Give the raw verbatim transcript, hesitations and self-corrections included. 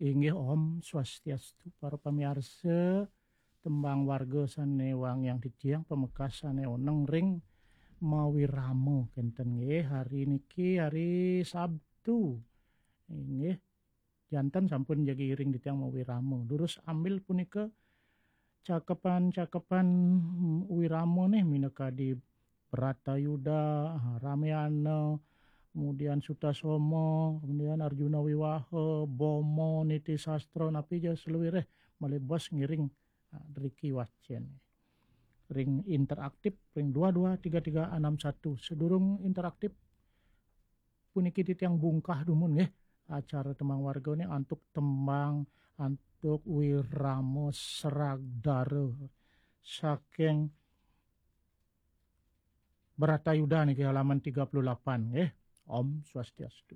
Inggih, Om Swastiastu, para pamiarsa. Tembang warga sane wangiang titiang, pamekas sane oneng ring mawirama kenten nggih, hari niki hari Sabtu. Inggih, janten sampun jagi iring titiang mawirama. Durus ambil punika cakepan-cakepan wirama nih, minakadi Bratayuda, Ramayana, kemudian Sutasoma, kemudian Arjuna Wiwaha, Boma, Niti Sastra, napi ja saluireh malih bos ngiring, ah, driki wacen. Ring interaktif, ring dua dua tiga tiga enam satu. Sedurung interaktif, puniki titiang bungkah dumun nggih acara tembang warga nih antuk tembang, antuk wirama Sragdara saking Bratayuda niki halaman tiga puluh delapan nggih. Om Swastiastu.